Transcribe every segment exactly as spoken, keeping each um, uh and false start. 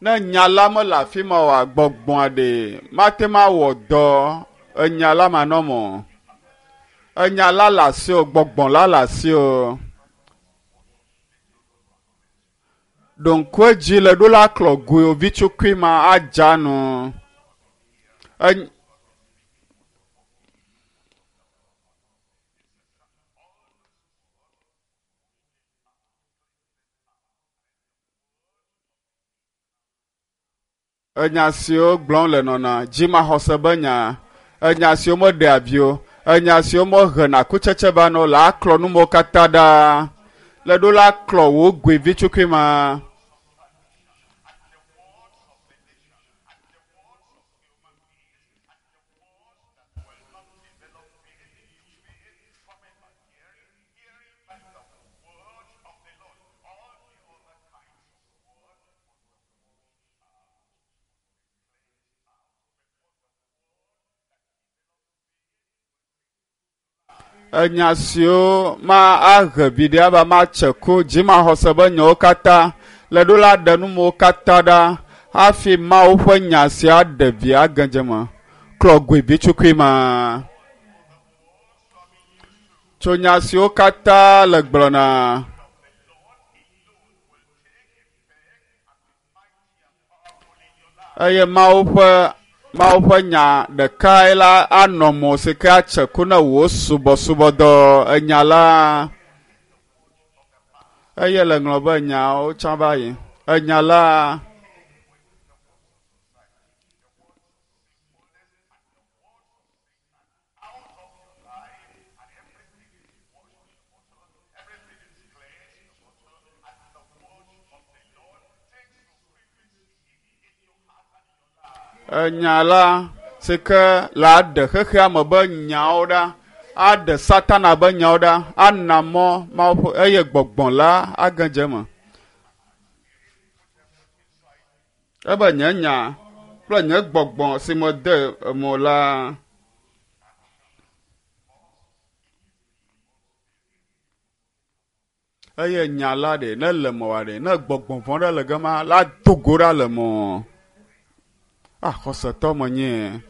Ne nya la mele afi ma oa, gbɔgbɔa ɖe mate ŋu awɔ dɔ enya la manɔme o. Enya la le asiwò, gbɔgbɔ la le asiwò. Ɖo ŋku edzi le ɖo la klɔ goe vitsukui ma adza nu. En enya siwo gblɔm le nɔna dzimaxɔse be nya, enya siwo meɖea vi o, enya siwo mehena kutsetse va na o la aklɔ numewo katã ɖa. Le ɖo la klɔ wò goe vitsukui ma. Enya siwo ma ahe viɖe ava matse ku dzimaxɔse be nyawo katã le ɖo la ɖe numewo katã ɖa hafi Mawu ƒe nya sia ɖe vi agedze me. Klɔ goe vitsukui ma. Tso nya siwo katã le gblɔna. Eye Mawu ƒe Mawu ƒe nya ɖekae la anɔ mo si ke atse ku ne wò subɔsubɔdɔ enya la. Eye le ŋlɔ be nyawo tsã va yi. Enya la. Enya la si ke la ɖe xexea me be nyawo ɖa, aɖe Satana be nyawo ɖa, ana mɔ Mawu ƒe eye gbɔgbɔ la agedze eme. Ebe nye nya kple nye gbɔgbɔ si mede eme la. Eye nya la ɖe ne le mɔa ɖe ne gbɔgbɔ vɔ̃ ɖe le gema la do go ɖa le mɔ. Ah, xɔsetɔ menye.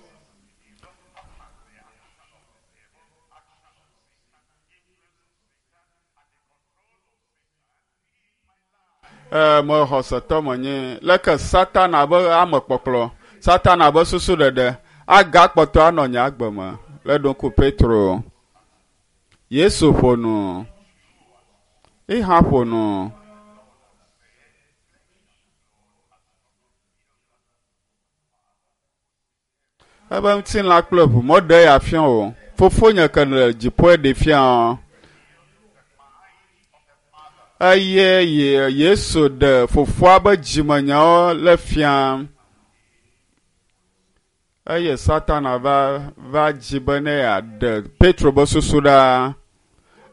Ee, me xɔsetɔ menye. Leke Satana be amekpɔkplɔ, Satana be susu ɖeɖe agakpɔtɔ anɔ nye agbe me. Le ɖo ŋku Petro. Yesu ƒo nu. Ihã ƒo nu. Ebe ŋutilã kple ʋu meɖe ya fia o. Fofonye ke le dziƒoe ɖe fia. Eye Yesu ɖe fofoa be dzimenyawo le fia. Eye Satana va va dzi be ne yeaɖe Petro be susu ɖa.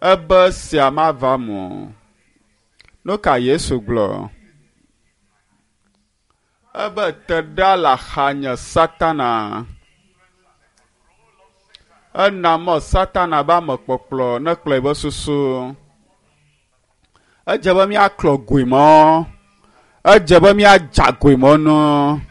Ebe sia mava me o. Nu ka Yesu gblɔ? Ebe te ɖa le axanye Satana. Ena mɔ Satana be amekpɔkplɔ ne kplɔe be susu. Edze be míaklɔ goe mɔ. Edze be míadza goe mɔ nu.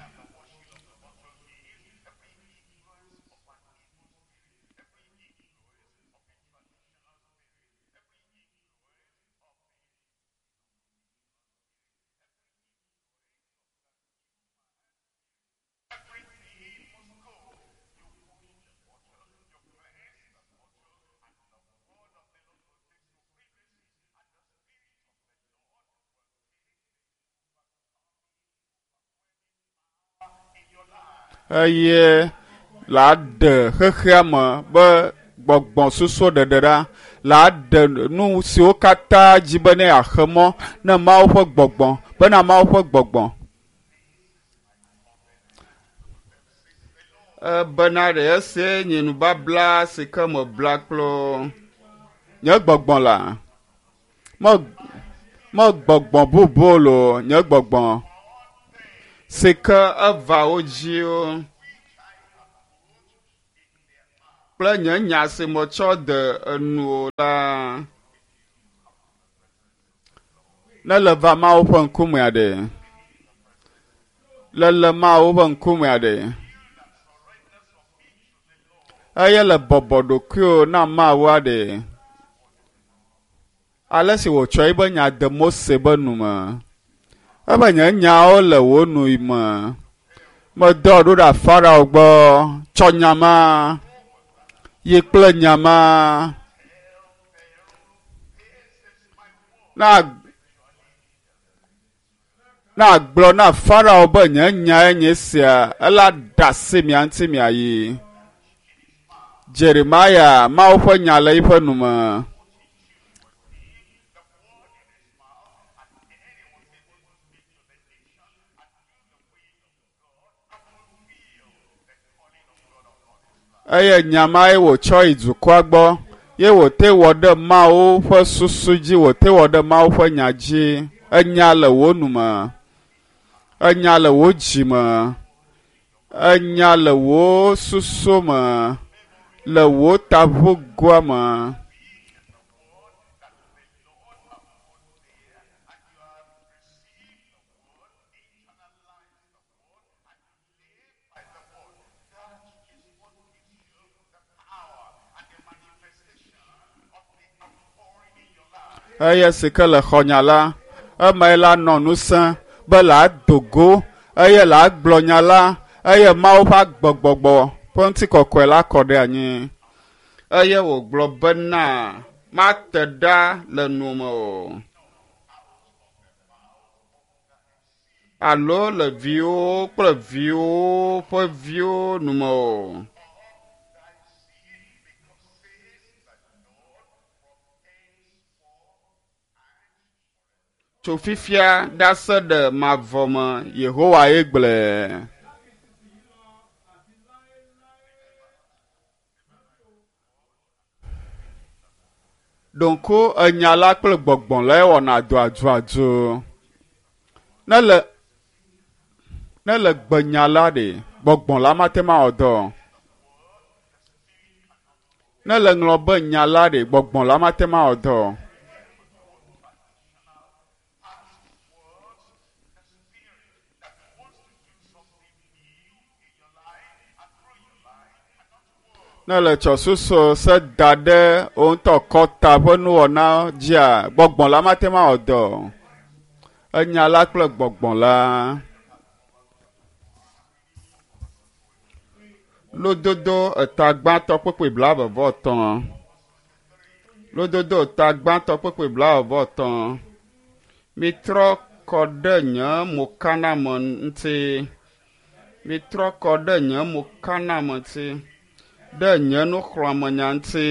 Eye la ɖe xexea me be gbɔgbɔ susu ɖeɖe ɖa la ɖe nu siwo katã dzi be ne yeaxe mɔ ne Mawu ƒe gbɔgbɔ bena Mawu ƒe gbɔgbɔ. Ebena ɖe esie nye nubabla si ke mebla kple nye gbɔgbɔ la. Me me gbɔgbɔ bubu lo nye gbɔgbɔ si ke eva wo dziwo. Kple nye nya si metsɔ de enu la. Ne le va Mawu ƒe ŋkumea ɖe. Le le Mawu ƒe ŋkumea ɖe. Eye le bɔbɔ ɖokuiwò na Mawua ɖe. Ale si wòtsɔ eƒe nya de Mose be nu me. Ebe nye nyawo le wò nu me. Medɔ ɖo ɖa Farao gbɔ tsɔ nya ma yi kple nya ma. Na na gblɔ na Farao be nye nyae nye sia ela ɖe asi mia ŋuti miayi. Jeremia Mawu ƒe nya le eƒe nu me. Eye nya mae wòtsɔ yi dukɔa gbɔ ye wòte wɔ ɖe Mawu ƒe susu dzi, wòte wɔ ɖe Mawu ƒe nya dzi. Enya le wò nu me, enya le wò dzi me, enya le wò susu me, le wò taʋugoa me. Eye si ke le xɔnya la, emae la nɔ ŋusẽ be la do go eye la gblɔ nya la eye Mawu ƒe agbegbɔgbɔ ƒe ŋutikɔkɔe la kɔ ɖe anyi. Eye wògblɔ bena mate ɖa le nu me o. Alo le viwo kple viwo ƒe viwo nu me o. Tso fifia ɖase ɖe mavɔ me Yehowa ye gblɔe. Ɖonko enya la kple gbɔgbɔ la wɔna do aduadu. Ne le ne le gbenya la ɖe gbɔgbɔ la mate ma wɔ dɔ. Ne le ŋlɔ be nya la ɖe gbɔgbɔ la mate ma wɔ dɔ. Ne le tsɔ susu se da ɖe wo ŋutɔ kɔta ƒe nuwɔna dzia, gbɔgbɔ la mate ma wɔ dɔ. Enya la kple gbɔgbɔ la. Lododo eta gbãtɔ kpukpui blaeve vɔ etɔ̃. Lododo eta gbãtɔ kpukpui blaeve vɔ etɔ̃. Mitrɔ kɔ ɖe nye mokaname ŋuti. Mitrɔ kɔ ɖe nye mokaname ŋuti. Ɖe nye nuxlɔ̃amenya ŋuti.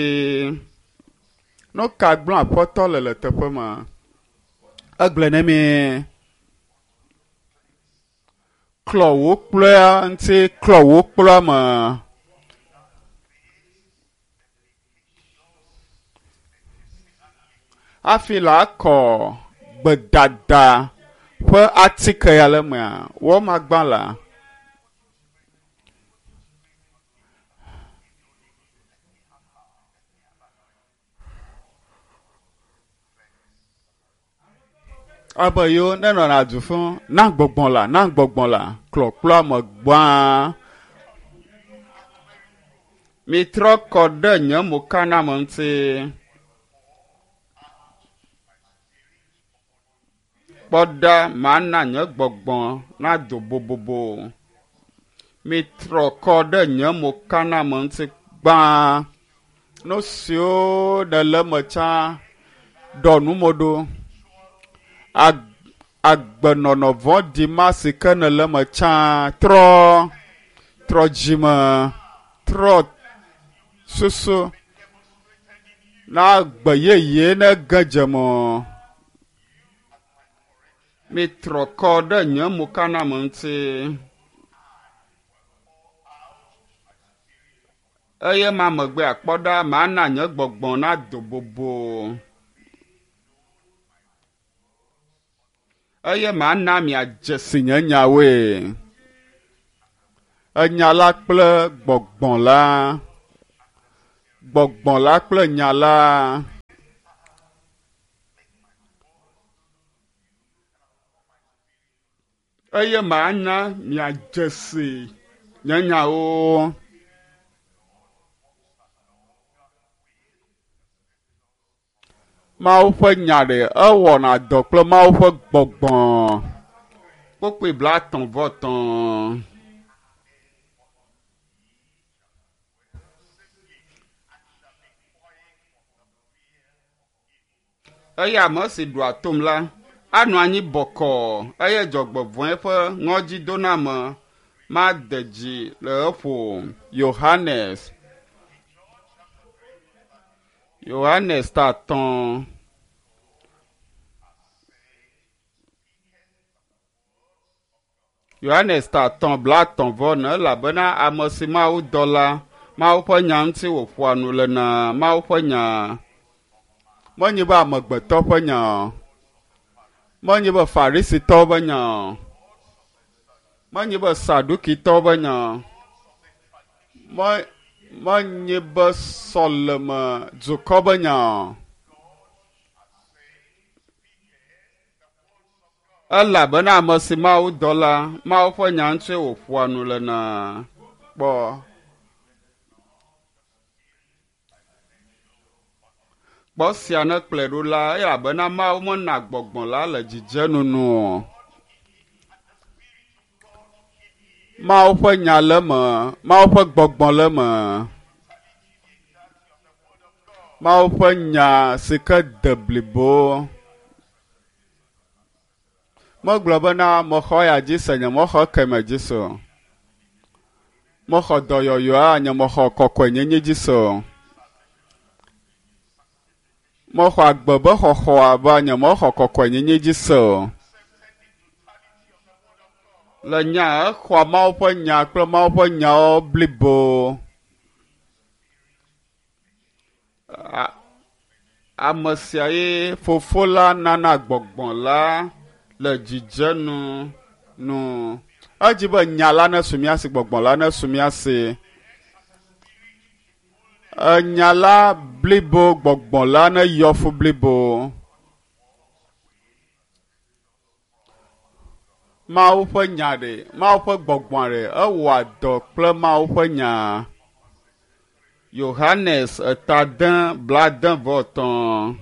Nu ka gblɔm Aƒetɔ le le teƒe ma? Egblɔe ne mi. Klɔ wò kplɔa ŋuti, klɔ wò kplɔa me. Hafi la kɔ gbedada ƒe atike ya le mea, wɔmagbã la. Abe yewo ne nɔna du fún na gbɔgbɔ la, na gbɔgbɔ la, klɔkplɔa me gbã. Mitrɔ kɔ ɖe nye mokaname ŋuti. Kpɔ ɖa mana nye gbɔgbɔ nado bobobo. Mitrɔ kɔ ɖe nye mokaname ŋuti gbã. Nu siwo ɖe le eme tsã ɖɔ numo ɖo. Agbenɔnɔ vɔ̃ɖi ma si ke ne le eme tsã trɔ, trɔ dzime, trɔ susu na agbe yeye ne ge dze me. Mitrɔ kɔ ɖe nye mokaname ŋuti. Eye ma megbe akpɔ ɖa mana nye gbɔgbɔ nado bobo. Eye mana miadze si nye nyawoe. Enya la kple gbɔgbɔ la. Gbɔgbɔ la kple nya la. Eye mana miadze si nye nyawo. Mawu ƒe nya ɖe ewɔna dɔ kple Mawu ƒe gbɔgbɔ. Kpukpui blaetɔ̃ vɔ etɔ̃. Eye ame si ɖoa tom la anɔ anyi bɔkɔɔ eye dzɔgbevɔ̃e ƒe ŋɔdzidoname made dzi le eƒo. Yohanes Yohanes ta atɔ̃. Yohanes ta atɔ̃ blaetɔ̃ vɔ ene elabena ame si Mawu dɔ la, Mawu ƒe nya ŋuti wòƒoa nu le na Mawu ƒe nya. Menye be amegbetɔ ƒe nya o. Menye be Farisitɔwo ƒe nya o. Menye be Sadukitɔwo ƒe nya o. Me, menye be sɔleme dukɔ ƒe nya o. Elabena ame si Mawu dɔ la, Mawu ƒe nya ŋutie wòƒoa nu le na. Kpɔ. Kpɔ sia ne kplɔe ɖo la, elabena Mawu mena gbɔgbɔ la le dzidzenu nu o. Mawu ƒe nya le eme, Mawu ƒe gbɔgbɔ le eme. Mawu ƒe nya si ke de blibo. Megblɔ bena mexɔ ya dzi se, nye mexɔ ekeme dzi se o. Mexɔ dɔyɔyɔa, nye mexɔ kɔkɔenyenye dzi se o. Mexɔ agbe be xɔxɔa be nye mexɔ kɔkɔenyenye dzi se o. Le nya exɔa Mawu ƒe nya kple Mawu ƒe nyawo blibo. Ame sia ye fofo la nana gbɔgbɔ la le dzidzenu nu. Edzi be nya la nesu mía si, gbɔgbɔ la nesu mía si. Enya la blibo, gbɔgbɔ la neyɔ fu blibo. Mawu ƒe nya ɖe, Mawu ƒe gbɔgbɔ ɖe, ewɔa dɔ kple Mawu ƒe nya. Yohanes eta ade blaade vɔ etɔ̃.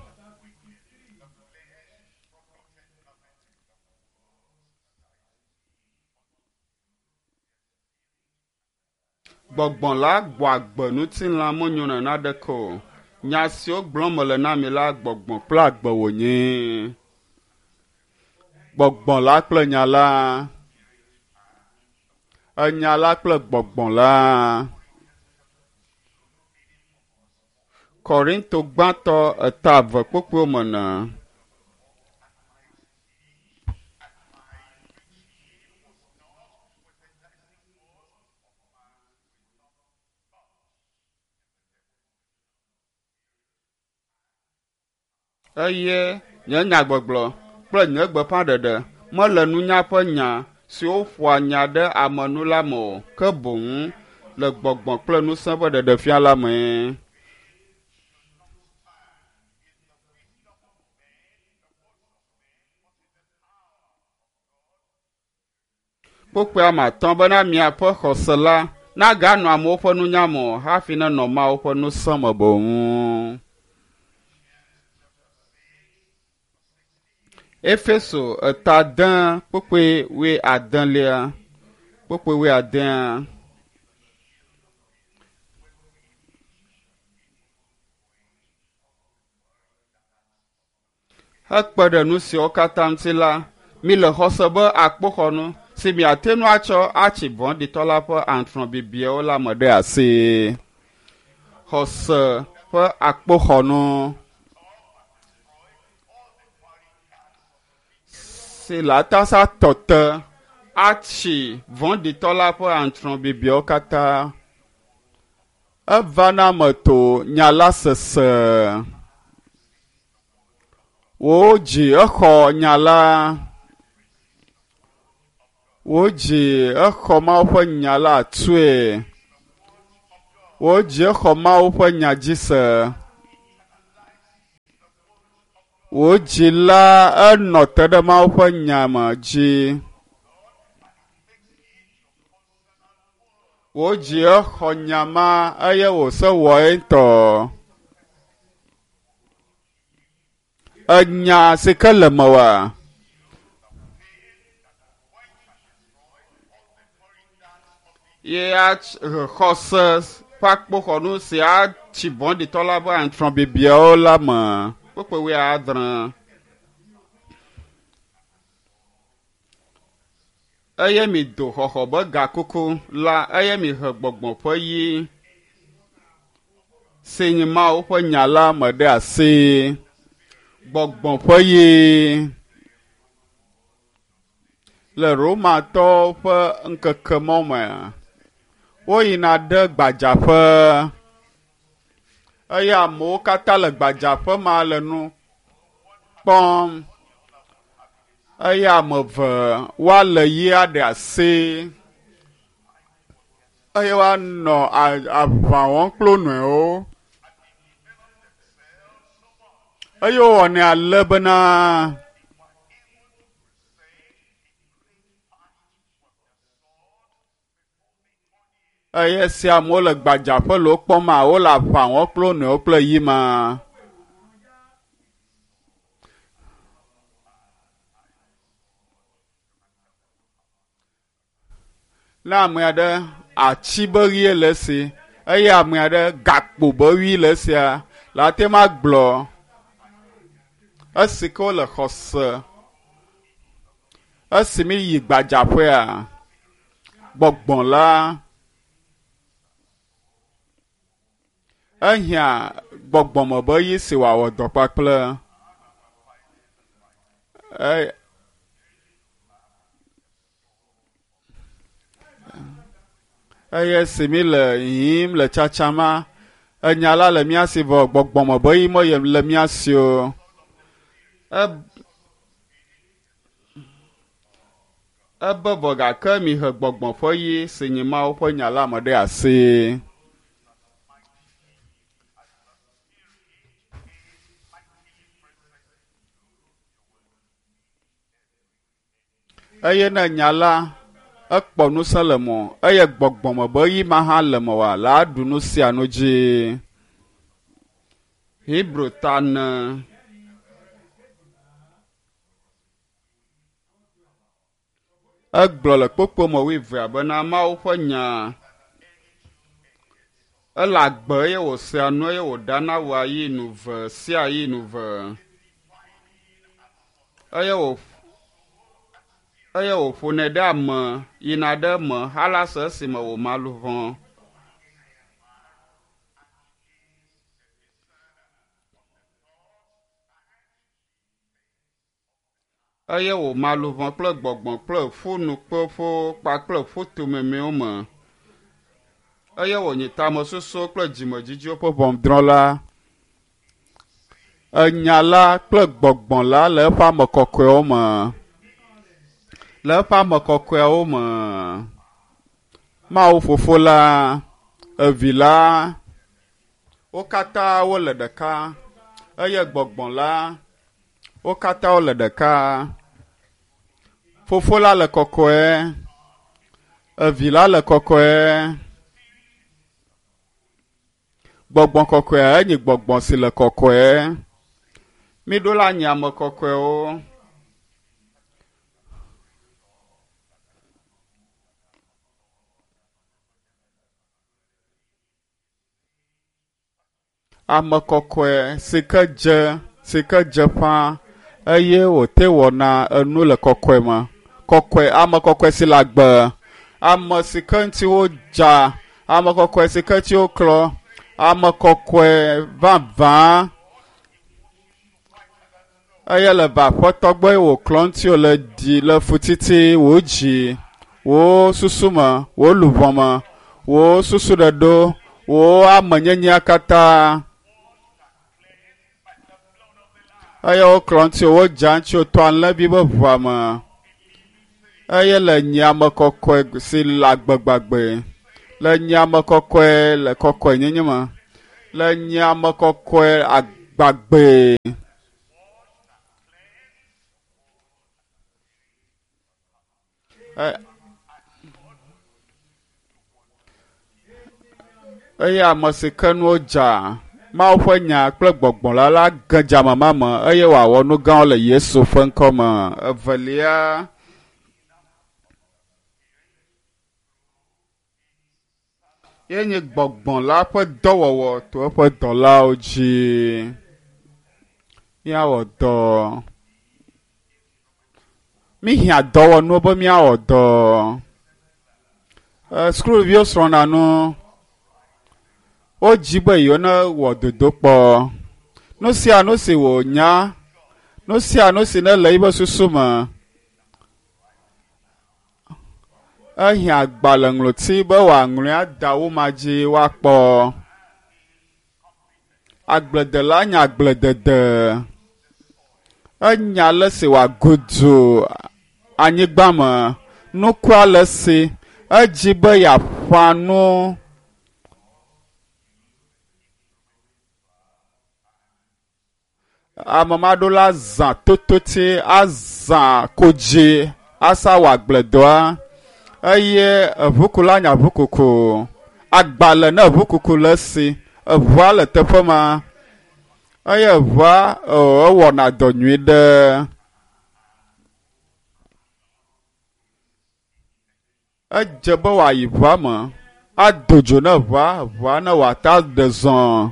Gbɔgbɔ la gbɔ agbe ŋutilã menyo nene aɖeke o. Nya siwo gblɔm mele na mi la, gbɔgbɔ kple agbe wònye. Gbɔgbɔ la kple nya la. Enya la kple gbɔgbɔ la. Korinto gbãtɔ eta eve kpukpuiwo me ne. Eye nye nyagbɔgblɔ kple nye gbeƒãɖeɖe mele nunya ƒe nya siwo ƒoa nya ɖe ame nu la me o, ke boŋ le gbɔgbɔ kple ŋusẽ ƒe ɖeɖefia la mee. Kpukpui ame atɔ̃ bena miaƒe xɔse la naganɔ amewo ƒe nunya me o hafi nenɔ Mawu ƒe ŋusẽ me boŋ. Efeso eta ade kpukpui wuiadelia kpukpui wuiadea. Hekpe ɖe nu siwo katã ŋuti la, mi le xɔse be akpoxɔnu si miate ŋu atsɔ atsi vɔ̃ɖitɔ la ƒe aŋutrɔbibiawo la me ɖe asi. Xɔse ƒe akpoxɔnu si le atasa tɔ te atsi vɔ̃ɖitɔ la ƒe aŋutrɔbibiawo katã. Eva na ame to nya la sese. Wò dzi exɔ nya la. Wò dzi exɔ Mawu ƒe nya la tsoe. Wò dzi xɔ Mawu ƒe nya dzi se. Wò dzi la enɔ te ɖe Mawu ƒe nya me dzi. Wò dzi exɔ nya ma eye wòse wɔ ŋutɔ. Enya si ke le mewòa? Ye xɔse ƒe akpoxɔnu si atsi vɔ̃ɖitɔ la ƒe aŋutrɔbibiawo la me. Kpukpui wuiadre. Eye mi do xɔxɔ be gakuku la eye mi he gbɔgbɔ ƒe yi si nye Mawu ƒe nya la me ɖe asi. Gbɔgbɔ ƒe yi le Romatɔwo ƒe ŋkeke mɔ me woyina ɖe gbadzaƒe eye amewo katã le gbadzaƒe ma le nu kpɔm eye ame eve woale yia ɖe asi eye woanɔ aʋa wɔm kple wo nɔewo eye wowɔnɛ ale bena eye esi amewo le gbadzaƒe le wo kpɔm a wole aʋa wɔm kple wo nɔewo kple yi ma. Ne ame aɖe ati be ɣie le esi eye ame aɖe gakpo be ɣi le esia, la te ma gblɔ esi ke wole xɔse. Esi mi yi gbadzaƒea, gbɔgbɔ la ehiã gbɔgbɔme be ɣi si wòawɔ dɔ kpakple. Eye eye esi mi le yiyim le tsatsama, enya la le mía si vɔ gbɔgbɔme be ɣi me le mía si o. Ebe vɔ gake mihe gbɔgbɔ ƒe ɣi si nye Mawu ƒe nya la me ɖe asi. Eye ne nya la ekpɔ ŋusẽ le mɔ eye gbɔgbɔme be ɣi ma hã le mewòa la ɖu nu sia nu dzi. Hebrew ta ne. Egblɔ le kpukpui me wuievea bena Mawu ƒe nya ele agbe eye wòsea nu eye wòɖana wua yi nu ve sia yi nu ve eye wò eye wòƒonɛ ɖe ame yina ɖe eme halase esime wòma luʋɔ. Eye wòma luʋɔ kple gbɔgbɔ kple ƒunukpeƒewo kpakple ƒutomemewo me. Eye wònyi tamesusuwo kple dzimedzidziwo ƒe ʋɔnudrɔ̃la. Enya la kple gbɔgbɔ la le eƒe ame kɔkɔewo me. Le eƒe ame kɔkɔeawo me. Mawu fofo la, evi la, wo katã wole ɖeka eye gbɔgbɔ la, wo katã wole ɖeka. Fofo la le kɔkɔe, evi la le kɔkɔe. Gbɔgbɔ kɔkɔea enye gbɔgbɔ si le kɔkɔe. Miɖo la nye ame kɔkɔewo. Ame kɔkɔe si ke dze si ke dze ƒã eye wòte wɔna enu le kɔkɔe me. Kɔkɔe ame kɔkɔe si le agbe. Ame si ke ŋuti wodza, ame kɔkɔe si ke ŋuti woklɔ, ame kɔkɔe vavã eye le va aƒetɔ gbɔ eye wòklɔ ŋuti wòle ɖi le futiti wò dzi, wò susu me, wò luʋɔ me, wò susu ɖeɖo, wò amenyenyea katã. Eye woklɔ ŋuti wodza ŋuti wòtɔ alẽvi be ʋua me. Eye le nye ame kɔkɔe si le agbe gbagbe. Le nye ame kɔkɔe le kɔkɔenyenye me. Le nye ame kɔkɔe agbagbe. Eye ame si ke nuwo dza Mawu ƒe nya kple gbɔgbɔ la la ge dze ame ma me eye wòawɔ nu gãwo le Yesu ƒe ŋkɔ me. Evelia, ye nye gbɔgbɔ la ƒe dɔwɔwɔ to eƒe dɔlawo dzi. Míawɔ dɔ. Míhiã dɔwɔnuwo be míawɔ dɔ. Sukuviwo srɔ̃na nu. Wodzi be yewo ne wɔ dodokpɔ. Nu sia nu si wònya, nu sia nu si ne le eƒe susu me, ehiã agbalẽŋlɔti be wòaŋlɔe ada wo ma dzi woakpɔ. Agbledela nya agbledede. Enya ale si wòagudu anyigba me. Nukua le si. Edzi be yeaƒã nu. Ame ma ɖo la zã tototi, azã kodzi, asa wɔ agbledɔa eye eʋukula nya ʋukuku. Agbalẽ ne ʋukuku le esi. Eʋua le teƒe ma eye eʋua ewɔna dɔ nyui ɖe. Edze be wòayi ʋua me, ado dzo ne ʋua, ʋua ne wòata ɖe zɔ.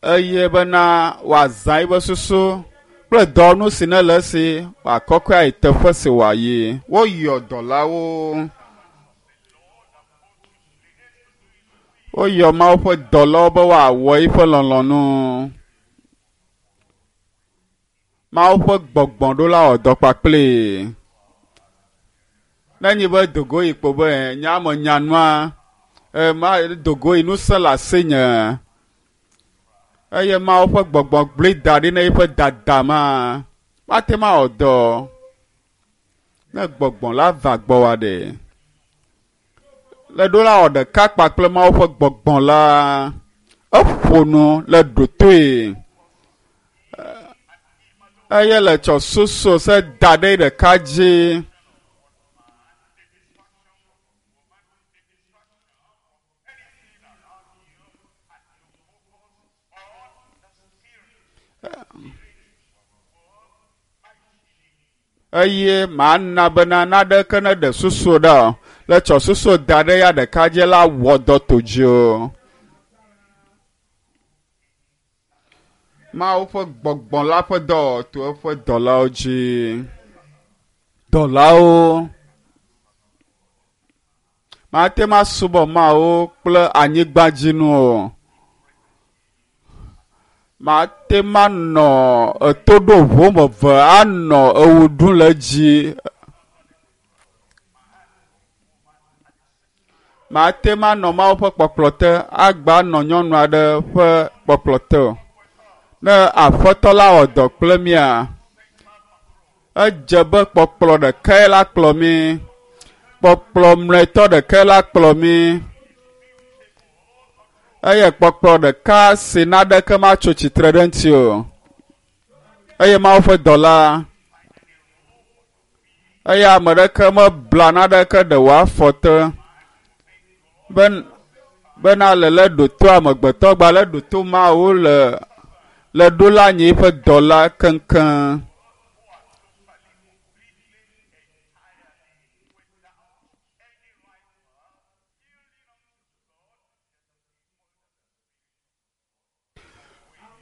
Eye bena wòazã eƒe susu kple dɔwɔnu si ne le esi wòakɔkɔe ayi teƒe si wòayi. Woyɔ dɔlawo. Woyɔ Mawu ƒe dɔlawo be woawɔ eƒe lɔlɔ̃nu. Mawu ƒe gbɔgbɔ ɖo la wɔ dɔ kpakpli. Ne nyi be dogo yi kpo be nye ame nyanua, ma dogo yi ŋusẽ le asinye. Eye Mawu ƒe gbɔgbɔ gblẽ da ɖi ne eƒe dada ma, mate ŋu awɔ dɔ. Ne gbɔgbɔ la va gbɔwòa ɖe, le ɖo la wɔ ɖeka kpakple Mawu ƒe gbɔgbɔ la, eƒo nu le ɖotoe. Eye le tsɔ susu se da ɖe ɖeka dzi. Eye mana bena naɖeke ne ɖe susu ɖa o. Le tsɔ susu da ɖe ya ɖeka dzi la wɔ dɔ to dzi o. Mawu ƒe gbɔgbɔ la ƒe dɔ to eƒe dɔlawo dzi. Dɔlawo. Mate ŋu asubɔ Mawu kple anyigbadzinu o. Mate ŋu anɔ eto ɖo ʋu me eve anɔ ewo ɖum le edzi. Mate ŋu anɔ Mawu ƒe kpɔkplɔ te agba nɔ nyɔnu aɖe ƒe kpɔkplɔ te o. Ne aƒetɔ la wɔ dɔ kple mía, edze be kpɔkplɔ ɖekae la kplɔ mí. Kpɔkplɔ mlɔetɔ ɖekae la kplɔ mí. Eye kpɔkplɔ ɖeka si naɖeke matso tsitre ɖe ŋuti o. Eye Mawu ƒe dɔla. Eye ame ɖeke mebla naɖeke ɖe wòafɔ te. Ben, bena le le ɖoto amegbetɔ gba le ɖoto Mawu le le ɖo la nyi eƒe dɔla keŋkeŋ.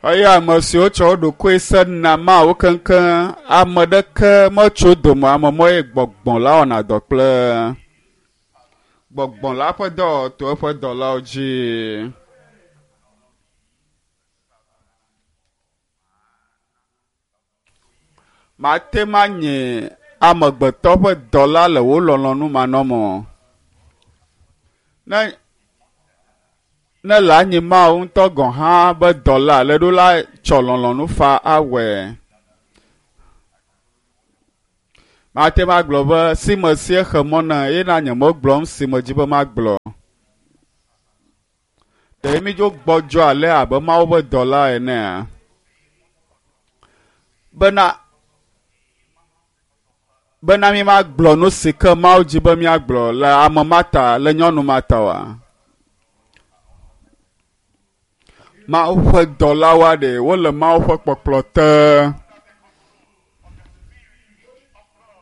Eye ame siwo tsɔ wo ɖokui se na Mawu keŋkeŋ, ame ɖeke metso dome ame mɔ ye gbɔgbɔ la wɔna dɔ kple. Gbɔgbɔ la ƒe dɔ to eƒe dɔlawo dzi. Mate ŋu anye amegbetɔ ƒe dɔla le wò lɔlɔ̃nu manɔme o. Ne ne le anyi Mawu ŋutɔ gɔ̃ hã be dɔla le ɖo la tsɔ lɔlɔ̃nu fa awɔe. Mate magblɔ be si me sie xe mɔ na ye na nye megblɔm si me dzi be magblɔ. Ɖe mi dzo gbɔdzɔ ale abe Mawu ƒe dɔla enea? Bena bena mi magblɔ nu si ke Mawu dzi be miagblɔ le ame ma ta, le nyɔnu ma ta oa? Mawu ƒe dɔlawoa ɖe wole Mawu ƒe kpɔkplɔ te.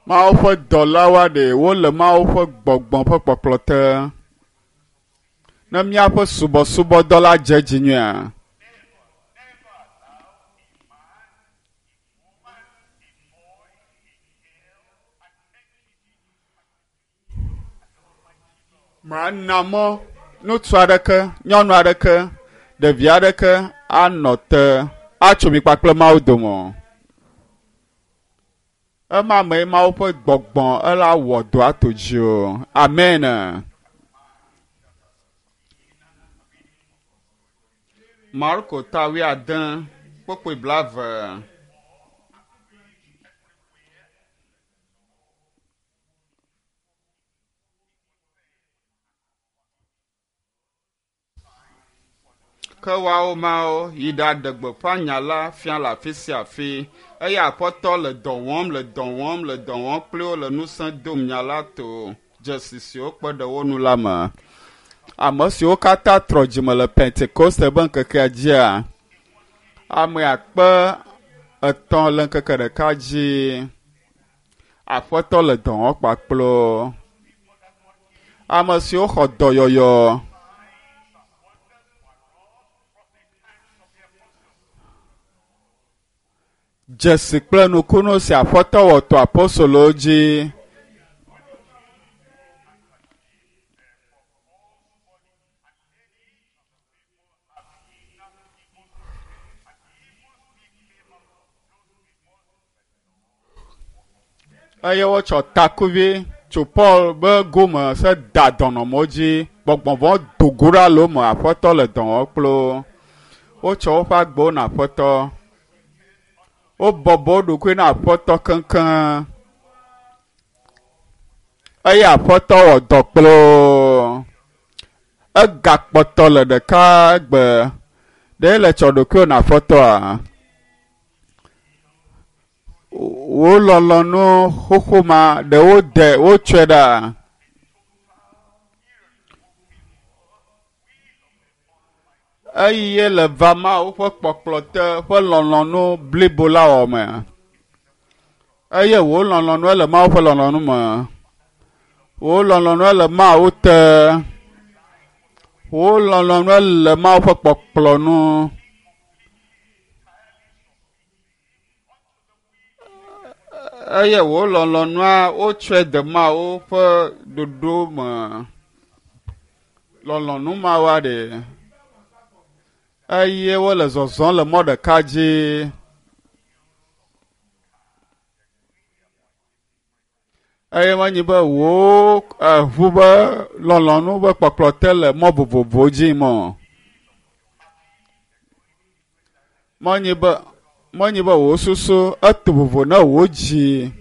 Mawu ƒe dɔlawoa ɖe wole Mawu ƒe gbɔgbɔ ƒe kpɔkplɔ te. Ne míaƒe subɔsubɔdɔ la dze dzi nyuia, mana mɔ ŋutsu aɖeke, nyɔnu aɖeke, ɖevi aɖeke anɔ te atso mi kpakple Mawu dome o. Ema mee Mawu ƒe gbɔgbɔ ela wɔ dɔ ato dzi o. Amen. Marko ta wuiade kpukpui blaeve. Ke woawo mawo yi ɖaɖe gbeƒã nya la fia le afi sia afi eye Aƒetɔ le dɔ wɔm le dɔ wɔm le dɔ wɔm kpli wo le ŋusẽ dom nya la to dzesi siwo kpe ɖe wo nu la me. Ame siwo katã trɔ dzime le Pentekoste ƒe ŋkekea dzia, ame akpe etɔ̃ le ŋkeke ɖeka dzi. Aƒetɔ le dɔ wɔm kpakple wo. Ame siwo xɔ dɔyɔyɔ dzesi kple nukunu si Aƒetɔ wɔ to apostolowo dzi. Eye wotsɔ takuvi tso Paul be gome se da dɔnɔmewo dzi. Gbɔgbɔvɔ do go ɖa le wo me. Aƒetɔ le dɔ wɔm kple wo. Wotsɔ woƒe agbewo na Aƒetɔ. Wobɔbɔ wo ɖokui na Aƒetɔ keŋkeŋ. Eye Aƒetɔ wɔ dɔ kple wo. Egakpɔtɔ le ɖeka gbe. Ɖe le tsɔ ɖokuiwò na Aƒetɔa? Wò lɔlɔ̃nu xoxo ma ɖe wode wotsɔe ɖa? Eye le va Mawu ƒe kpɔkplɔ te ƒe lɔlɔ̃nu blibo la wɔ me. Eye wò lɔlɔ̃nu le Mawu ƒe lɔlɔ̃nu me. Wò lɔlɔ̃nu le Mawu te. Wò lɔlɔ̃nu le Mawu ƒe kpɔkplɔ nu. Eye wò lɔlɔ̃nua wotsɔe de Mawu ƒe ɖoɖo me. Lɔlɔ̃nu mawoa ɖe. Eye wole zɔzɔm le mɔ ɖeka dzi. Eye menye be wò eʋu be lɔlɔ̃nu be kpɔkplɔ te le mɔ vovovowo dzi mɔ. Menye be menye be wò susu eto vovo na wò dzi.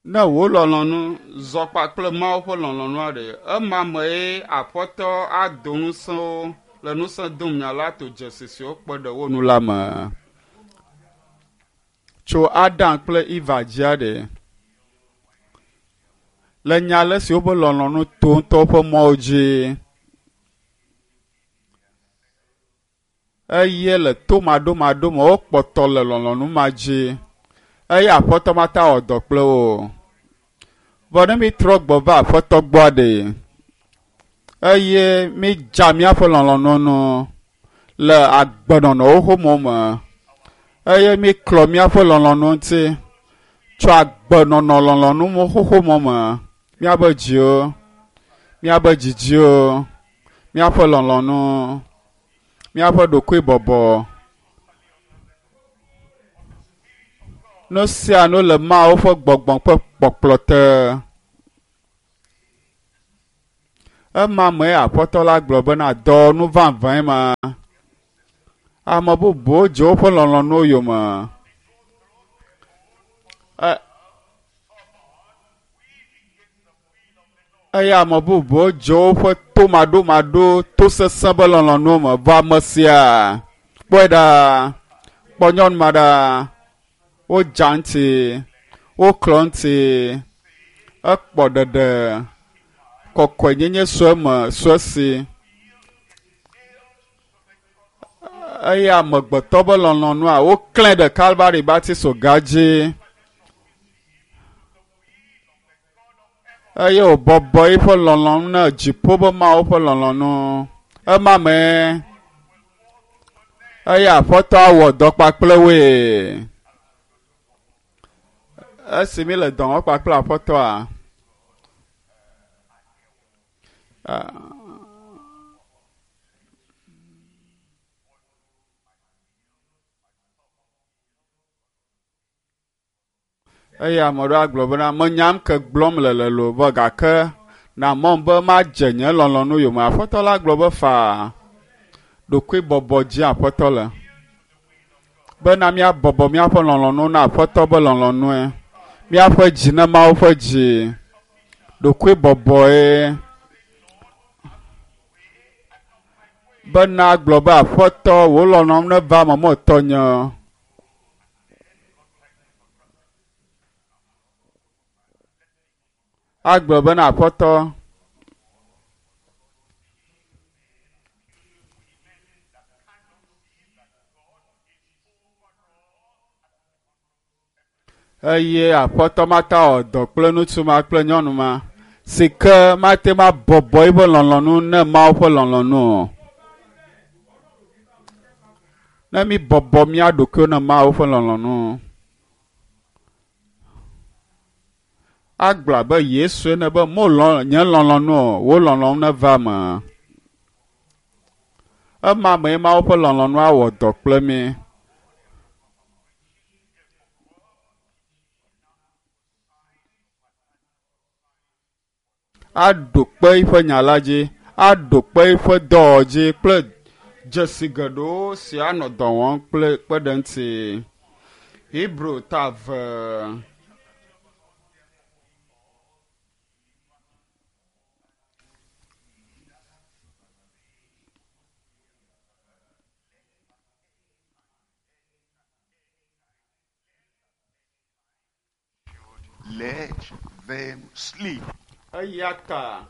Ne wò lɔlɔ̃nu zɔ kpakple Mawu ƒe lɔlɔ̃nua ɖe, ema mee Aƒetɔ ado ŋusẽ le ŋusẽ dom nya la to dzesi siwo kpe ɖe wo nu la me. Tso Adam kple Eva dzia ɖe, le nya ale si woƒe lɔlɔ̃nu to ŋutɔ woƒe mɔwo dzi. Eye le tomaɖomaɖo me wokpɔtɔ le lɔlɔ̃nu ma dzi. Eye Aƒetɔ mata wɔ dɔ kple wo. Vɔ ne mi trɔ gbɔ va Aƒetɔ gbɔa ɖe, eye mi dza míaƒe lɔlɔ̃nu nu le agbenɔnɔwo xoxo me, eye mi klɔ míaƒe lɔlɔ̃nu ŋuti tso agbenɔnɔ lɔlɔ̃nu xoxo me, míaƒe dziwo, míaƒe dzidziwo, míaƒe lɔlɔ̃nu, míaƒe ɖokuibɔbɔ. Nu sia nu le Mawu ƒe gbɔgbɔ ƒe kpɔkplɔ te. Ema me aƒetɔ la gblɔ bena dɔwɔnu vavãe ma. Ame bubuwo dze woƒe lɔlɔ̃nuwo yome. Eye ame bubuwo dze woƒe tomaɖomaɖo tosesẽ be lɔlɔ̃nuwo me. Vɔ ame sia kpɔe ɖa, kpɔ nyɔnu ma ɖa, wodza ŋuti, woklɔ ŋuti, ekpɔ ɖeɖe, kɔkɔenyenye sue me sue si. Eye amegbetɔ be lɔlɔ̃nua woklẽ ɖe Kalvari batiso ga dzi. Eye wòbɔbɔ eƒe lɔlɔ̃nu na dziƒo be Mawu ƒe lɔlɔ̃nu. Ema me eye aƒetɔ awɔ dɔ kpakple woe. Esi mi le dɔ wɔm kpakple aƒetɔa, eye ame aɖewo agblɔ bena menyam ke gblɔm le le lo vɔ gake na mɔm be madze nye lɔlɔ̃nu yome. Aƒetɔ la gblɔ be faa ɖokuibɔbɔ dzi aƒetɔ le bena míabɔbɔ míaƒe lɔlɔ̃nu na aƒetɔ be lɔlɔ̃nue. Míaƒe dzi ne Mawu ƒe dzi ɖokuibɔbɔe bena gblɔ be aƒetɔ wò lɔlɔ̃nu neva eme metɔ nye. Agblɔ bena aƒetɔ eye aƒetɔ mata wɔ dɔ kple ŋutsu ma kple nyɔnu ma si ke mate ŋu abɔbɔ eƒe lɔlɔ̃nu ne Mawu ƒe lɔlɔ̃nu o. Ne mi bɔbɔ mía ɖokuiwo ne Mawu ƒe lɔlɔ̃nu. Agblɔ abe Yesu ene be mo lɔ nye lɔlɔ̃nu o, wò lɔlɔ̃nu neva eme. Ema mee Mawu ƒe lɔlɔ̃nu awɔ dɔ kple mi. Aɖo kpe eƒe nya la dzi, aɖo kpe eƒe dɔwɔwɔ dzi kple dzesi geɖewo si anɔ dɔ wɔm kple kpe ɖe ŋuti. Hebrew ta eve. Let them sleep. Eya ta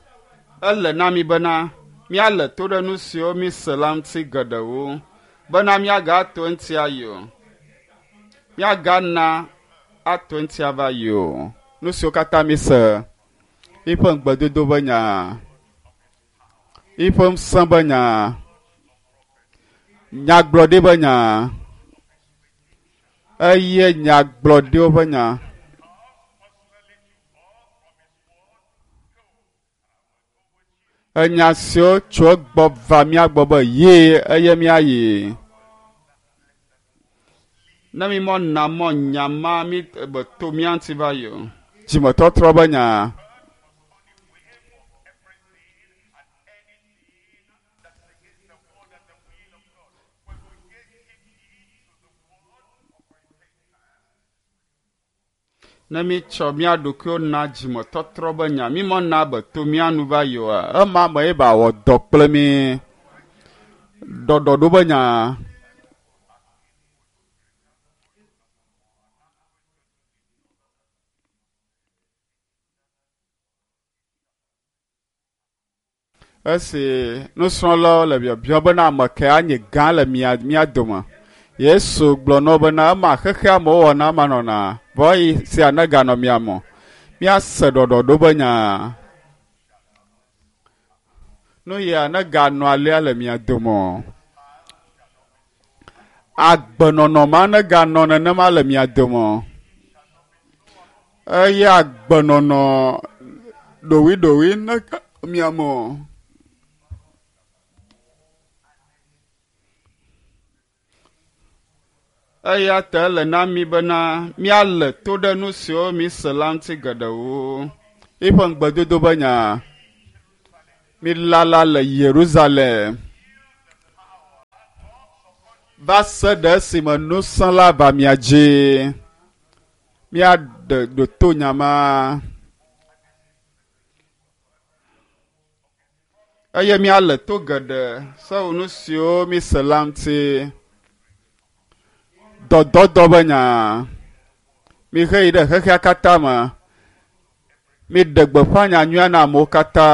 ele na mi bena míale to ɖe nu siwo mi se la ŋuti geɖewo bena míagato eŋuti ayi o. Míagana ato eŋuti ava yi o. Nu siwo katã mi se, eƒe ŋugbedodo be nya, eƒe ŋusẽ be nya, nyagblɔɖi be nya, eye nyagblɔɖiwo ƒe nya. Enya siwo tso egbɔ va mía gbɔ be ye eye míayi. Ne mi mɔ na mɔ nya ma mi be to mía ŋuti va yi o. Dzimetɔtrɔ be nya. Ne mi tsɔ mía ɖokuiwo na dzimetɔtrɔ be nya, mi mɔ na be to mía nu va yi oa, ema me ye ba wɔ dɔ kple mi. Ɖɔɖɔɖo be nya. Esi nusrɔ̃lawo le biabiam bena ame kae anye gã le mia mía dome. Yesu gblɔ na wo bena ema xexea me wowɔna ema nɔna vɔ eyi sia neganɔ mia me. Míase ɖɔɖɔɖo be nya. Nu ya neganɔ alea le mia dome o. Agbenɔnɔ ma neganɔ nenema le mia dome o. Eye agbenɔnɔ ɖowiɖowi nega mia me o. Eya ta ele na mi bena míale to ɖe nu siwo mi se la ŋuti geɖewo. Eƒe ŋugbedodo be nya. Mi lala le Yerusalem. Va se ɖe esime nusẽ la va mia dzi. Míaɖe ɖoto nyama. Eye míale to geɖe sewu nu siwo míse la ŋuti. Dɔdɔdɔ be nya. Mihe yi ɖe xexea katã me. Miɖe gbeƒã nyanyuia na amewo katã.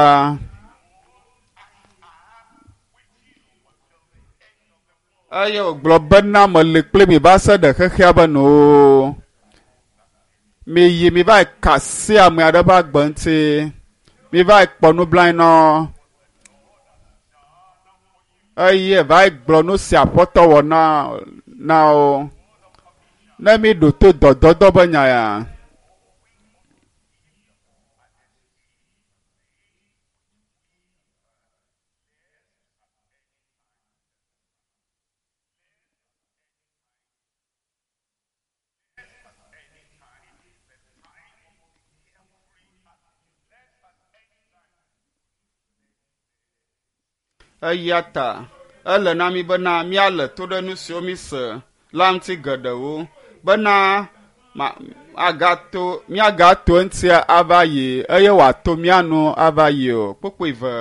Eye wògblɔ bena meli kpli mi va se ɖe xexea be nuwo. Miyi mi va ka asi ame aɖe ƒe agbe ŋuti. Mi va kpɔ nublanui nɔ. Eye va gblɔ nu si Aƒetɔ wɔ na na wo. Ne mi ɖo to dɔdɔdɔ be nya ya. Eya ta ele na mi bena míale to ɖe nu siwo míse la ŋuti geɖewo bena ma agato míagato eŋuti ava yi eye wòato mía nu ava yi o. Kpukpui ve.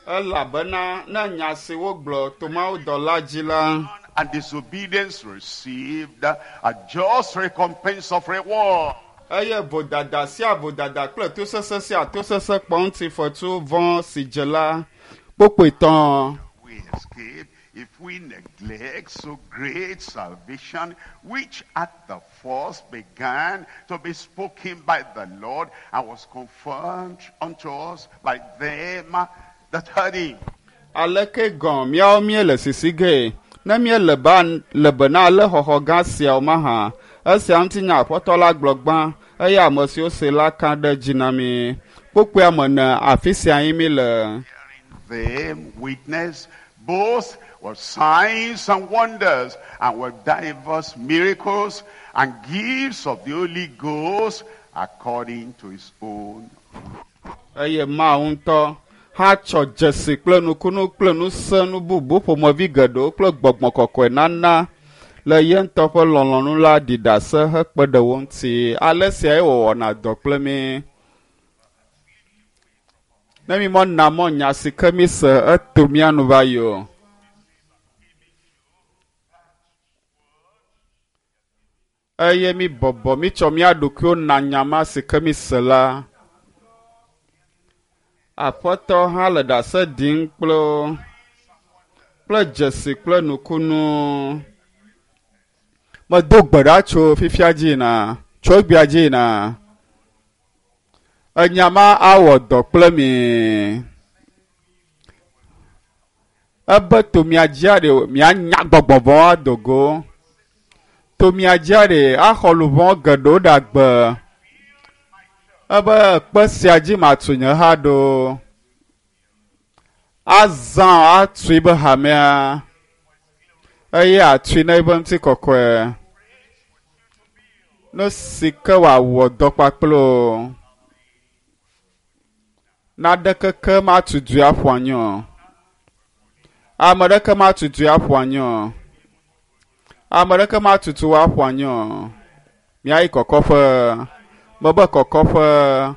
Elabena ne nya si wogblɔ to mawudɔla dzi la And disobedience received a just recompense of reward. Eye vodada sia vodada kple tosese sia tosese kpɔ ŋutifetu vɔ̃ si dze la kpokpoe tɔ̃. We escape if we neglect so great salvation, which at the first began to be spoken by the Lord and was confirmed unto us by them that heard him. Aleke gɔ̃ míawo míele sisi ge ne míele ba le bena ale xɔxɔ gã siawo mahã. Esia ŋuti nya Aƒetɔ la gblɔ gbã eye ame siwo se la ka ɖe dzi na mi. Kpokpoea me ne afi sia yi mi le. Them witness both with signs and wonders and with diverse miracles and gifts of the Holy Ghost according to his own. Eye Mawu ŋutɔ hã tsɔ dzesi kple nukunu kple ŋusẽ bubu ƒomevi geɖewo kple gbɔgbɔ kɔkɔe nana le ye ŋutɔ ƒe lɔlɔ̃nu la ɖi ɖase hekpe ɖe wo ŋuti. Ale siae wòwɔna dɔ kple mí. Ne mi mɔ na mɔ nya si ke mi se eto mía nu va yi o. Eye mi bɔbɔ mi tsɔ mía ɖokuiwo na nya ma si ke mi se la. Aƒetɔ hã le ɖase ɖim kple wo, kple dzesi kple nukunu. Medo gbe ɖa tso fifia dzi yina, tso egbea dzi yina. Enya ma awɔ dɔ kple mi. Ebe to mia dzia ɖe mianya gbɔgbɔ vɔ̃ ado go. To mia dzia ɖe axɔ luʋɔ geɖewo ɖe agbe. Ebe kpe sia dzi matu nye ha ɖo. Azã atui be hamea. Eye atui na eƒe ŋutikɔkɔe. Nu si ke wòawɔ dɔ kpakple o. Naɖeke ke matu du aƒu anyi o. Ame ɖeke matu du aƒu anyi o. Ame ɖeke matutu aƒu anyi o. Míayi kɔkɔƒe. Mebe kɔkɔƒe.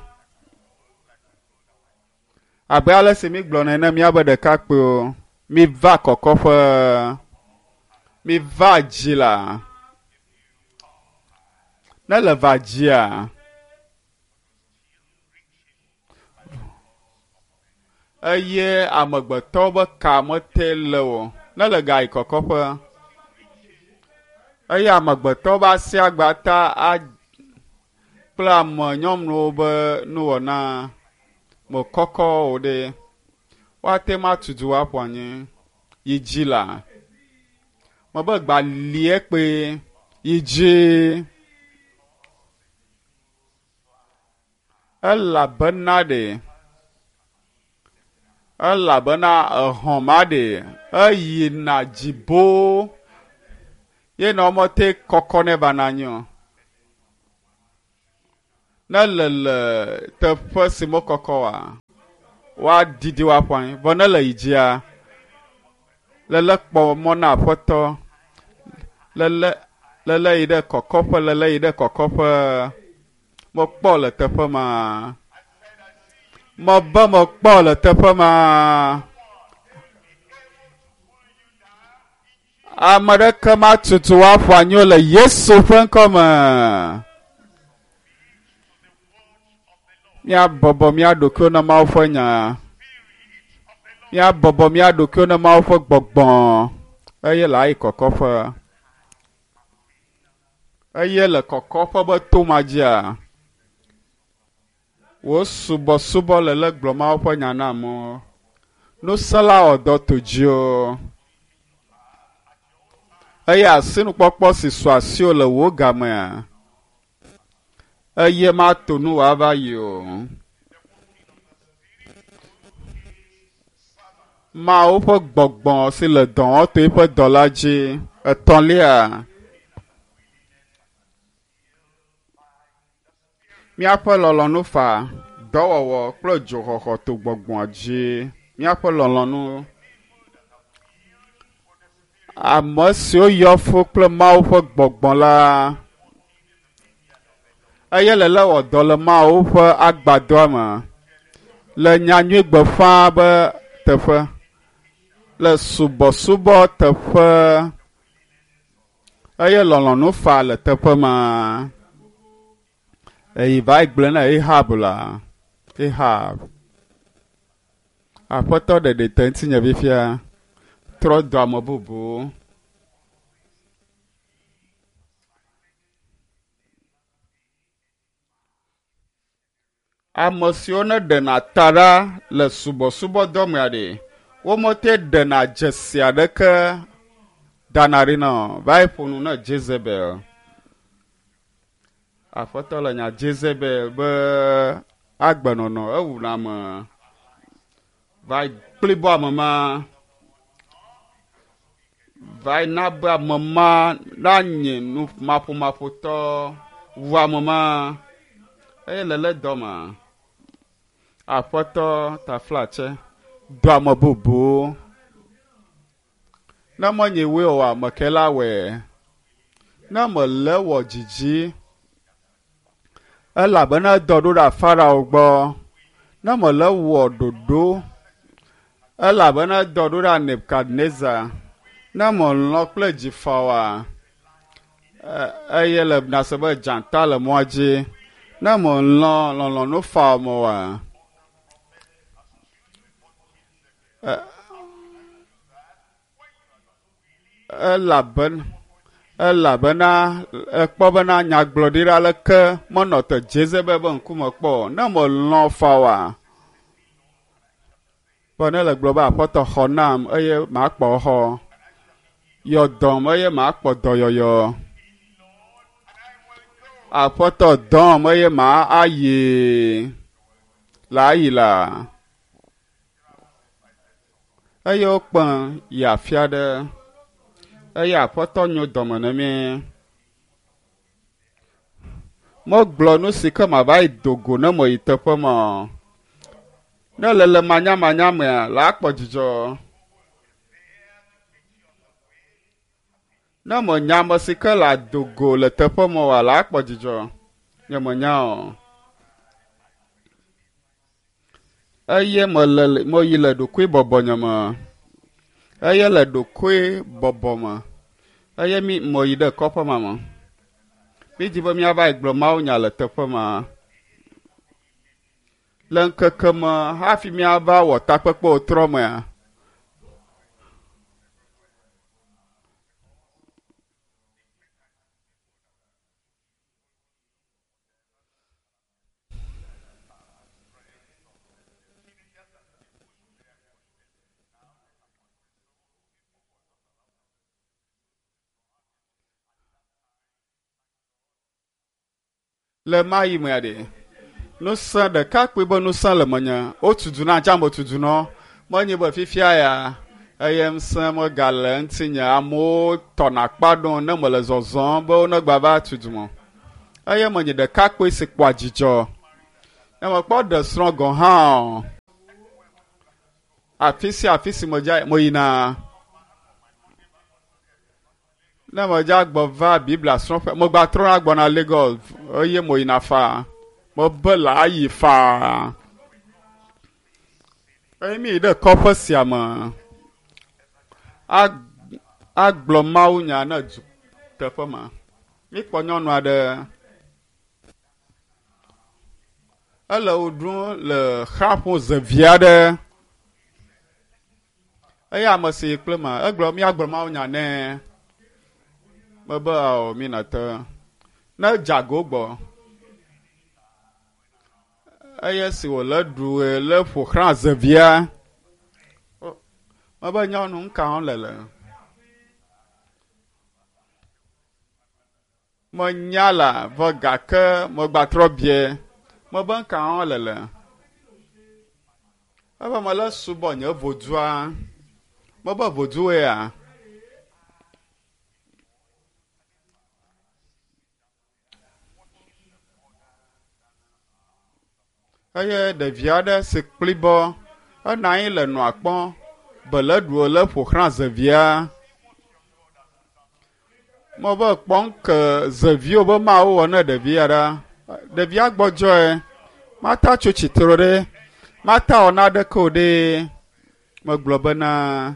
Abe ale si mi gblɔ nene míabe ɖekakpuiwo, mi va kɔkɔƒe. Mi va dzi la. Ne le va dzia, eye amegbetɔwo be ka mete le o. Ne le ga yi kɔkɔƒe. Eye amegbetɔwo be asi agba ta a kple ame nyɔnuwo be nuwɔna me kɔkɔ o ɖe. Woate ŋu atu du aƒu anyi. Yi dzi la. Mebe gba lie kpe. Yi dzi. Elabena ɖe. Elabena exɔ ma ɖe eyina dzibo ye na womete kɔkɔ ne va na anyi o. Ne le le teƒe si mekɔkɔ oa, woaɖiɖi wo aƒu anyi. Vɔ ne le yi dzia, lele kpɔ mɔ na aƒetɔ, lele lele yi ɖe kɔkɔƒe, lele yi ɖe kɔkɔƒe. Mekpɔ le teƒe ma. Mebe mekpɔ le teƒe ma. Ame ɖeke matutu woaƒu anyi o le Yesu ƒe ŋkɔme. Míabɔbɔ mía ɖokuiwo na Mawu ƒe nya. Míabɔbɔ mía ɖokuiwo na Mawu ƒe gbɔgbɔ eye le ayi kɔkɔƒe. Eye le kɔkɔƒe be to ma dzia, wo subɔsubɔ le le gblɔ Mawu ƒe nya na amewo. Nusẽla wɔ dɔ to dziwò. Eye asinukpɔkpɔ si su asiwò le wò gamea, eye mato nu wòava yi o. Mawu ƒe gbɔgbɔ si le dɔ wɔm to eƒe dɔ la dzi. Etɔ̃lia, míaƒe lɔlɔ̃nu fa, dɔwɔwɔ kple dzoxɔxɔ to gbɔgbɔa dzi. Míaƒe lɔlɔ̃nu. Ame siwo yɔ fũ kple Mawu ƒe gbɔgbɔ la, eye le le wɔ dɔ le Mawu ƒe agbadɔa me, le nyanyui gbeƒã be teƒe, le subɔsubɔ teƒe, eye lɔlɔ̃nu fa le teƒe ma. Eyi va yi gblɔ na Ahab la, Ahab, aƒetɔ ɖeɖi te ŋutinye fifia, trɔ do ame bubu. Ame siwo ne ɖena ta ɖa le subɔsubɔdɔ mea ɖe, womete ɖena dzesi aɖeke dana ɖi na o. Va yi ƒo nu na Jezebel. Aƒetɔ le nya Jezebel be agbenɔnɔ ewuna ame. Va yi kplibɔ ame ma. Va yi na be ame ma nanye nu maƒomaƒotɔ wu ame ma. Eye le le dɔ ma, aƒetɔ taflatse do ame bubu. Ne menye woe oa, ame ke la wɔe. Ne mele wɔ dzidzi, elabena edɔ ɖo ɖe Farao gbɔ. Ne mele wɔ ɖoɖo, elabena edɔ ɖo ɖe Nebukadnezar. Ne melɔ̃ kple dzi fa oa, eye le nase be dzata le mɔa dzi. Ne melɔ̃ lɔlɔ̃nu fa me oa, elabena elabena ekpɔ bena nyagblɔɖila aleke menɔ te Jezebel be ŋkume kpɔ o. Ne melɔ̃ fa oa, be ne le gblɔ be aƒetɔ xɔ nam eye makpɔ xɔ, yɔ dɔm eye makpɔ dɔyɔyɔ. Aƒetɔ dɔm eye ma ayi la ayi la. Eye wokpẽ yi afi aɖe eye aƒetɔ nyo dɔme na mí. Megblɔ nu si ke mava yi do go ne meyi teƒe ma o. Ne le le manyamanya mea, la akpɔ dzidzɔ. Ne menya ame si ke le ado go le teƒe ma oa, la akpɔ dzidzɔ. Nye menya o. Eye mele meyi le ɖokuibɔbɔnye me. Eye le ɖokuibɔbɔ me. Eye mi meyi ɖe kɔƒe ma me. Mi di be míava yi gblɔ mawunya le teƒe ma. Le ŋkeke me hafi míava wɔ takpekpe wòtrɔ mea, le ma yi mea ɖe, nusẽ ɖekakpui be nusẽ le menye. Wotudu na tsã metudu nɔ. Menye be fifia ya eye ŋusẽ megale ŋutinye. Amewo tɔna akpa ɖom ne mele zɔzɔm be wonegba va tudu me. Eye menye ɖekakpui si kpɔa dzidzɔ. Ne mekpɔ ɖe srɔ̃ gɔ̃ hã o. Afi sia afi si medza meyina. Ne medza gbɔ va Biblia srɔ̃ƒe, megba trɔna gbɔna Lagos eye meyina faa. Mebe le ayi faa. Eye mi yi ɖe kɔƒe sia me. Agblɔ mawunya ne du teƒe ma. Mikpɔ nyɔnu aɖe. Ele wo ɖum le xaƒo zevi aɖe. Eye ame si yi kple ma, egblɔ míagblɔ mawunya nɛ. Mebe ao mi nate. Ne dzago gbɔ. Eye si wòle ɖu le ƒo xlã zevia. Mebe nyɔnu ŋka wɔm le le. Menya la vɔ gake megbatrɔ bie. Mebe ŋka wɔm le le. Ebe mele subɔ nye vodua. Mebe voduwoea. Eye ɖevi aɖe si kplibɔ enɔ anyi le nua kpɔm be le ɖu le ƒo xlã zevia. Mebe kpɔm ke zeviwo be mawo wɔ ne ɖevia ɖa. Ɖevia gbɔdzɔe. Mata tso tsitre ɖe. Mata wɔ naɖeke o ɖe. Megblɔ bena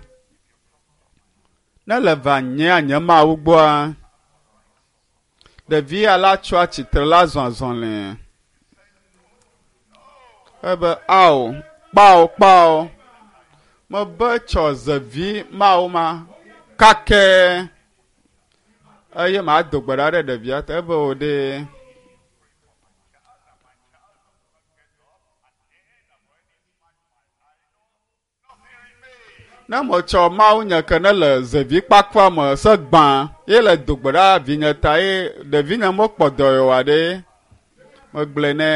ne le va nyea nye mawu gbɔa, ɖevia la tsoa tsitre la zɔ azɔli. Ebe ao, kpao kpao. Mebe tsɔ zevi mawo ma kakɛ. Eye mado gbe ɖa ɖe ɖevia ta ebe o ɖe. Ne metsɔ mawu nye ke ne le zevi kpakpa me se gbã ye le do gbe ɖa vinye ta ye ɖevinye mekpɔ dɔyɔwɔ ɖe. Megblɔe nɛ.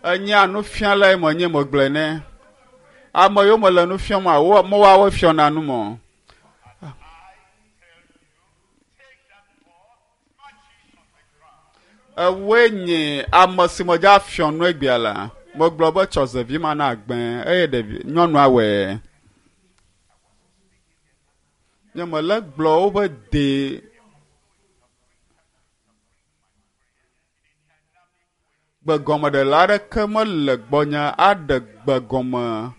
Enyea nufialae menye megblɔe nɛ. Ame yiwo mele nu fiam a wo mewoawo fiɔna nu mɔ. Ewoe nye ame si medza fiɔ nu egbea la. Megblɔ be tsɔ zevi ma na agbẽ eye ɖevi nyɔnua wɔe. Nye mele gblɔ wobe de gbegɔmeɖela aɖeke mele gbɔnye aɖe gbegɔme.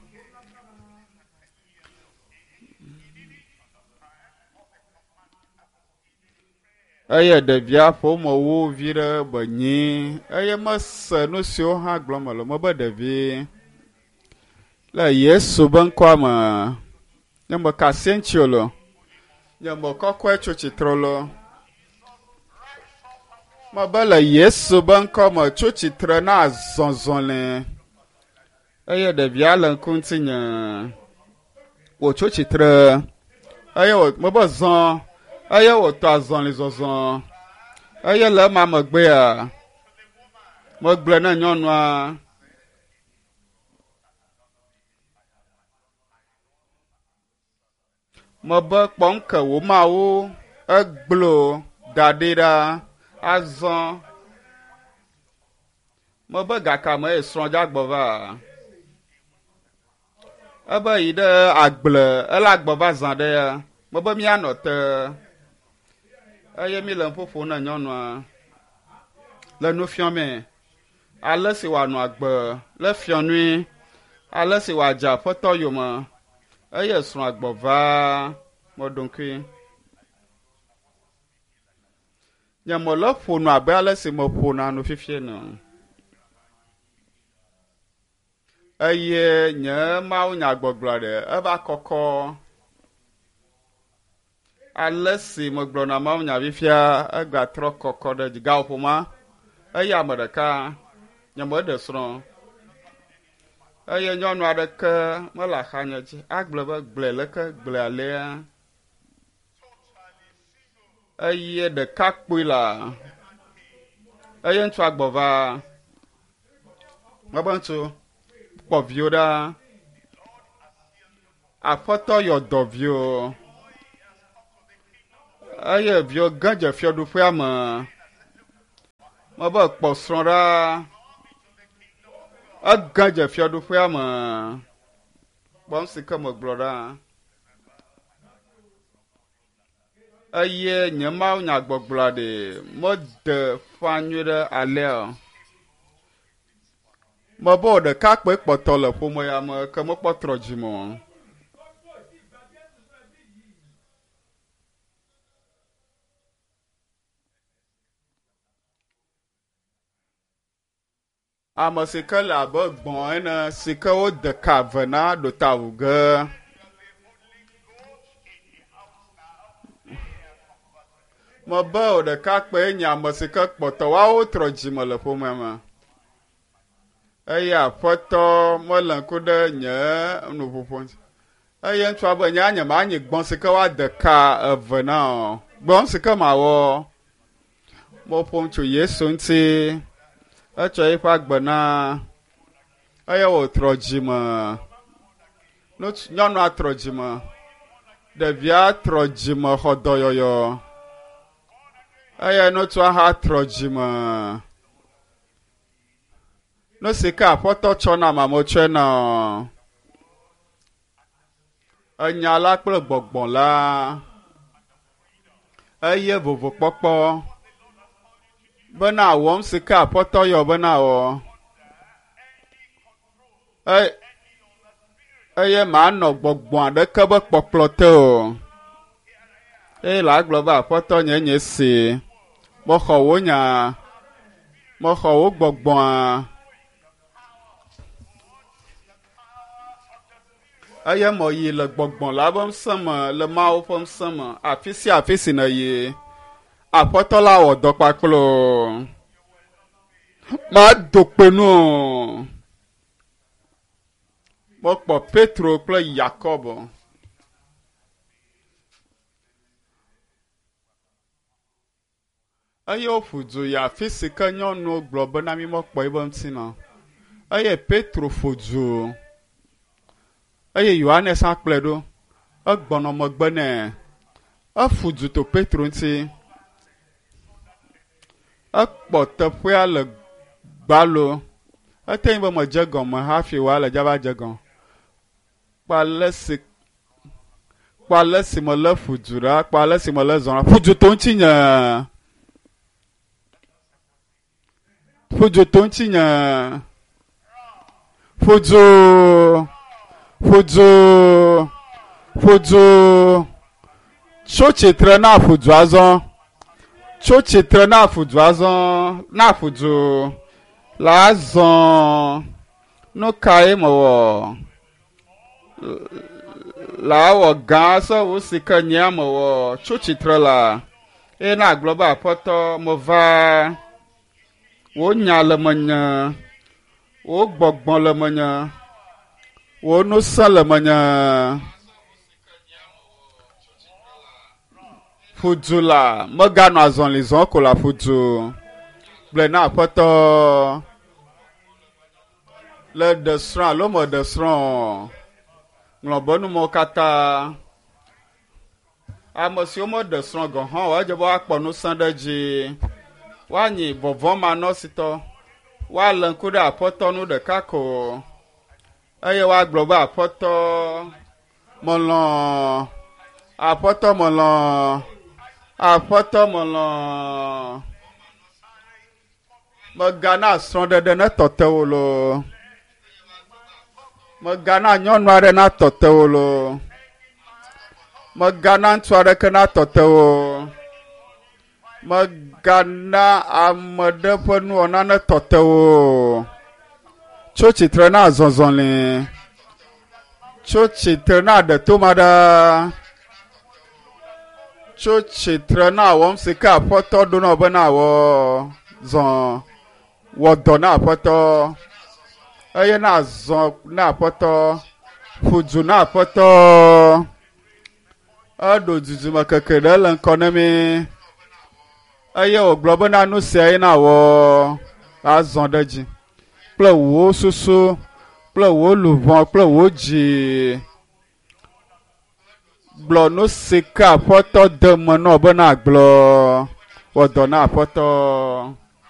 Eye ɖevia ƒomewo vi ɖe be nyi eye mese nu siwo hã gblɔm mele mebe ɖevi le Yesu be ŋkɔa me nye meka asi eŋuti o lo. Nye mekɔkɔe tso tsitre lo. Mebe le Yesu be ŋkɔ me tso tsitre na azɔzɔli. Eye ɖevia le ŋku ŋutinye. Wòtso tsitre eye wò mebe zɔ eye wòtɔ azɔli zɔzɔ. Eye le ema megbea megblɔe ne nyɔnua. Mebe kpɔm ke wò mawu egblɔ da ɖi ɖa azɔ. Mebe gaka me ye srɔ̃ dza gbɔ va. Ebe yi ɖe agble ele agbɔ va zã ɖe ya. Mebe míanɔ te. Eye mi le ƒoƒo ne nyɔnua le nu fiɔmee. Ale si wòanɔ agbe le fiɔnui. Ale si wòadze aƒetɔ yome. Eye srɔ̃a gbɔ va meɖo ŋkui. Nye mele ƒo nu abe ale si meƒona nu fifie ene. Eye nye mawunyagbɔgblɔ ɖe eva kɔkɔ. Ale si megblɔna mawunya fifia egatrɔ kɔkɔ ɖe dzi. Gaƒoƒo ma eye ame ɖeka nye meɖe srɔ̃. Eye nyɔnu aɖeke mele axanye dzi agblɔ be gblɔe leke gblɔe alea. Eye ɖekakpui la eye ŋutsua gbɔ va. Mebe ŋutsu kpɔ viwo ɖa. Aƒetɔ yɔ dɔ viwo. Eye viwo gã dze fiaɖuƒea me. Mebe kpɔ srɔ̃ ɖa. Egã dze fiaɖuƒea me. Kpɔm si ke megblɔ ɖa. Eye nye Mawu nyagbɔgblɔa ɖe mede ƒã nyuie ɖe alea o. Mebe wò ɖekakpui kpɔtɔ le ƒome ya me ke mekpɔ trɔ dzime o. Ame si ke le abe gbɔ̃ ene si ke wode ka ve na ɖo ta wu ge. Mebe wò ɖekakpui nye ame si ke kpɔtɔ woawo trɔ dzime le ƒomea me. Eye aƒetɔ mele ŋku ɖe nye nuƒoƒo ŋuti. Eye ŋutsua be nye nye manyi gbɔ̃ si ke woade ka eve na o. Gbɔ̃ si ke mawɔ. Meƒo nu tso Yesu ŋuti. Etsɔ eƒe agbe na. Eye wòtrɔ dzime. Nyɔnua trɔ dzime. Ɖevia trɔ dzime xɔ dɔyɔyɔ. Eye ŋutsua hã trɔ dzime. Nu si ke aƒetɔ tsɔ na ame tsɔe na o. Enya la kple gbɔgbɔ la. Eye vovokpɔkpɔ. Bena wɔm si ke aƒetɔ yɔ bena wɔ. Eye manɔ gbɔgbɔ aɖeke be kpɔkplɔ te o. Eye la gblɔ be aƒetɔ nye nye si. Mexɔ wò nya. Mexɔ wò gbɔgbɔa. Eye meyi le gbɔgbɔ la ƒe ŋusẽ me, le Mawu ƒe ŋusẽ me, afi sia afi si nèyi. Aƒetɔ la wɔ dɔ kpakple o. Mado kpe nu o. Mekpɔ Petro kple Yakob. Eye woƒu du yi afi si ke nyɔnuwo gblɔ bena mi mekpɔ eƒe ŋutinɔ. Eye Petro ƒo du. Eye Yohanes hã kplɔe ɖo. Egbɔnɔ megbe nɛ. Eƒu du to Petro ŋuti. Ekpɔ teƒea le gbalo. Ete ŋu be medze gɔme hafi wòale dzava dze gɔme. Kpɔ ale si kpɔ ale si mele ƒu du ɖa, kpɔ ale si mele zɔ ɖa. Ƒu du to ŋutinye. Ƒu du to ŋutinye. Ƒu du. Ƒu du. Ƒu du. Tso tsitre na ƒu du azɔ. Tso tsitre na ƒu du azɔ. Na ƒu du. La azɔ. Nu kae mewɔ? La wɔ gã sɔwu si ke nye mewɔ. Tso tsitre la. Eye na gblɔ be aƒetɔ meva. Wò nya le menye. Wò gbɔgbɔ le menye. Wò ŋusẽ le menye. Ƒu du la, meganɔ azɔli zɔm ko la ƒu du. Gblɔe na aƒetɔ. Le ɖe srɔ̃ alo meɖe srɔ̃ o. Ŋlɔ be numɔwo katã. Ame siwo meɖe srɔ̃ gɔ̃ hã o, edze be woakpɔ ŋusẽ ɖe edzi. Woanyi vɔvɔ̃manɔsitɔ. Woalé ŋku ɖe aƒetɔ nu ɖeka ko. Eye woagblɔ be aƒetɔ melɔ̃. Aƒetɔ melɔ̃. Aƒetɔ melɔ̃. Megana srɔ̃ɖeɖe netɔ te wò loo. Megana nyɔnu aɖe natɔ te wò loo. Megana ŋutsu aɖeke natɔ te wò. Megana ame ɖe ƒe nuwɔna netɔ te wò. Tso tsitre na zɔzɔli. Tso tsitre na ɖe toma ɖa. Tso tsitre na wɔm si ke aƒetɔ ɖo na wò be na wɔ zɔ. Wɔ dɔ na aƒetɔ. Eye na zɔ na aƒetɔ. Ƒu du na aƒetɔ. Eɖo dudume keke ɖe le ŋkɔ na mi. Eye wògblɔ bena nu sia ye na wɔ azɔ ɖe dzi. Kple wò susu, kple wò luʋɔ, kple wò dzi. Gblɔ nu si ke aƒetɔ de me nɔ bena gblɔ. Wɔ dɔ na aƒetɔ.